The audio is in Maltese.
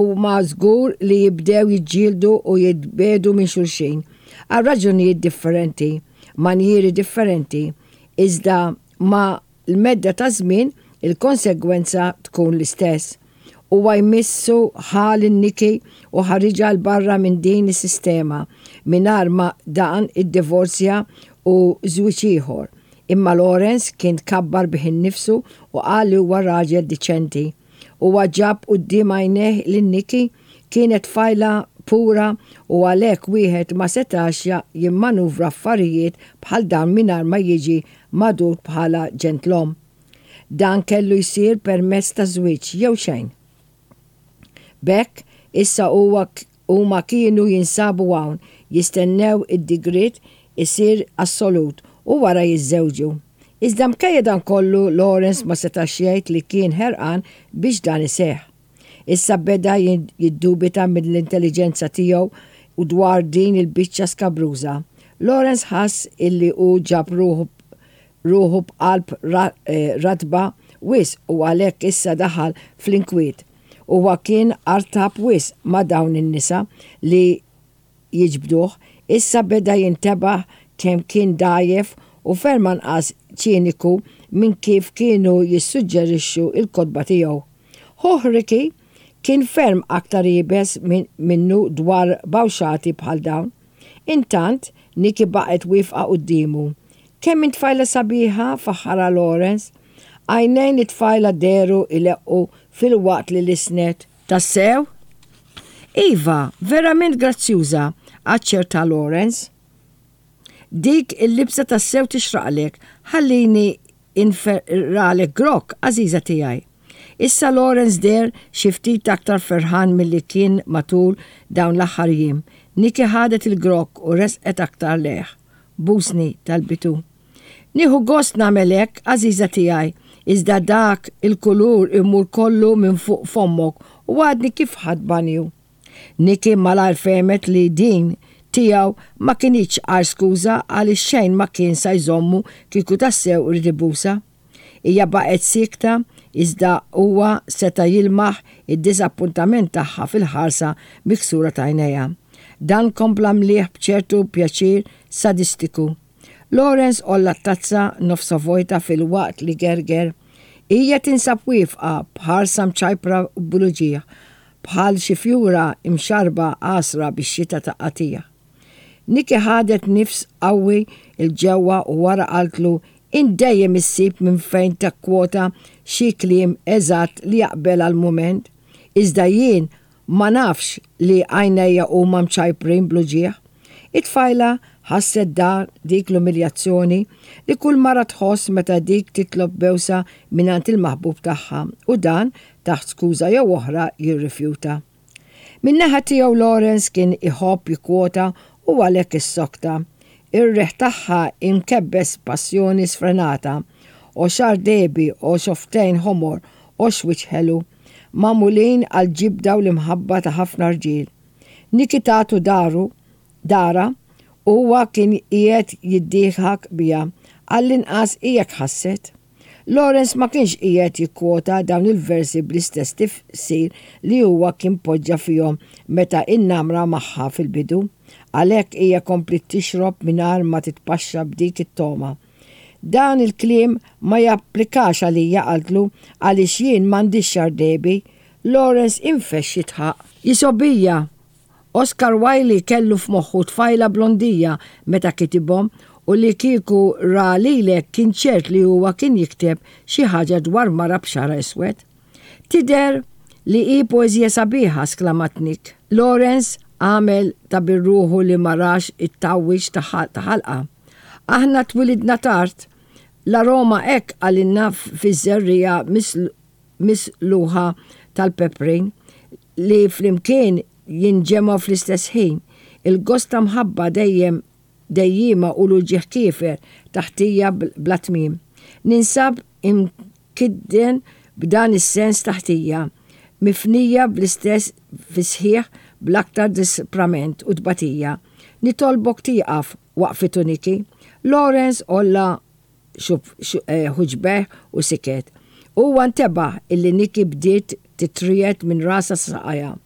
Huma żgur li jibdew jiġġieldu u jitbiegħdu minn xulxin, għal raġunijiet differenti, manjieri differenti, iżda ma' l-medda taż-żmien il-konsegwenza tkun l-istess. Huwa jmissu ħa lil Nikki u ħariġha 'l barra minn din is-sistema mingħajr ma dan iddivorzja u żwieġ ieħor. Imma Lawrence kien tkabbar bih innifsu u qal li huwa raġel diċenti. Huwa ġab quddiem għajnejh lil Nikki, kienet tfajla pura u għalhekk wieħed ma setax jimmanuvra affarijiet bħal dawn mingħajr ma jiġi magħdud bħala ġentlom. Dan kellu jsir permezz ta' żwieġ jew xejn. B'hekk, issa huwa Huma kienu jinsabu hawn, jistennew id-digriet isir assolut u wara jiżżewġu. Iżda mkejja dan kollu Lawrence ma setax jgħid li kien ħerqan biex dan iseħħ. Issa beda jiddubita mill-intelliġenza tiegħu u dwar din il-biċċa skabruża. Lawrence ħass illi hu ġab ruħu ruħu b'qalb ratba wisq u għalhekk issa daħal fl-inkwiet. Huwa kien artab wisq ma' dawn in-nisa li jiġbduh, issa beda jintebaħ kemm kien dgħajjef u ferm anqas ċiniku minn kif kienu jissuġġerixxu l-kotba tiegħu. Ħuh Ricky kien ferm aktar iebes minnu dwar bawxati bħal dawn. Intant, Nikki baqgħet wieqfa quddiemu. Kemm int tfajla sabiħa, faħħarha Lawrence. Għajnejn it-tfajla dehru jleqqu filwaqt li lissnet. Tassew? Iva, verament grazzjuża, aċċerta Lawrence. Dik il-libsa tassew tixraqlek, ħallini inferralek grokk, għażiża tiegħi. Issa Lawrence deher xi ftit aktar ferħan milli kien matul dawn l-aħħar jiem. Nikki ħadet il-grokk u resqet aktar lejh. Busni, talbitu. Nieħu gost nagħmel hekk, għażiża tiegħi, iżda dak il-kulur imur kollu minn fuq fommok u għadni kif ħadt banju. Nikki malajr fehmet li din tiegħu ma kinitx għajr skuża għaliex xejn ma kien sa jżommu kieku tassew ried ibusha. Hija baqgħet siekta iżda huwa seta' jilmaħ id-diżappuntament tagħha fil-ħarsa miksura t'għajnejha. Dan kompla mlieh b'ċertu pjaċir sadistiku. Lawrence għolla t-tazza nofsha vojta filwaqt li gerger. Hija tinsab wieqfa b'ħarsa mċajpra bl-uġigħ, bħal xi fjura mxarrba għasra bix-xita ta' qatigħ. Nikki ħadet nifs qawwi 'l ġewwa u wara qaltlu, Int dejjem issib minn fejn tikkwota xi kliem eżatt li jaqbel għall-mument. Iżda jien Ma nafx li għajnejja huma mċajprin bl-uġigħ. It-tfajla ħasset dan dik l-umiljazzjoni li kull mara tħoss meta dik titlob bewsa mingħand il-maħbub tagħha u dan, taħt skuża jew oħra, jirrifjuta. Min-naħa tiegħu Lawrence kien iħobb jikkwota u għalhekk issokta. Ir-riħ tagħha imkebbes b'passjoni sfrenata. O xagħar dehbi, o xofftejn ħomor, o x'wiċċ ħelu. Magħmulin għall-ġibda u l-imħabba ta' ħafna rġiel. Nikki tatu daru, darha, u huwa kien qiegħed jiddieħak biha, għall-inqas hi hekk ħasset. Lawrence ma kienx qiegħed jikkwota dawn il-versi bl-istess tifsir li huwa kien poġġa fihom meta innamra magħha fil-bidu. Għalhekk hija kompliet tixrob mingħajr ma titpaxxa b'dik it-togħma. Dan il-kliem ma japplikax għalija, qaltlu, għaliex jien m'għandix xagħar dehbi. Lawrence infexx jidħaq. Jisobija! Oscar Wilde kellu f'moħħu tfajla blondija meta kitibhom u li kieku ra lilek kien ċert li huwa kien jikteb xi ħaġa dwar mara b'xagħarha iswed. Tidher li hi poeżija sabiħa, sklamat Nick. Lawrence għamel ta' bir-ruħu li ma rax it-tgħawwiġ ta' ħalqha. Aħna twilidna tard. L-aroma hekk qalilna fiż-żerriegħa misluħa tal-peprin li flimkien jinġemgħu fl-istess ħin. Il-gost ta' mħabba dejjem dejjiema u l-uġigħ kiefer ta' ħtija bla tmiem. Ninsab imkidden b'dan is-sens ta' ħtija, mifnija bl-istess fis-sħiħ bl-aktar disprament u tbatija. Nitolbok tieqaf, waqfitu Nicky. Lawrence għolla ħuġbejh u siket. Huwa ntebaħ illi Nicky bdiet titriegħed minn rasha sa saqajha.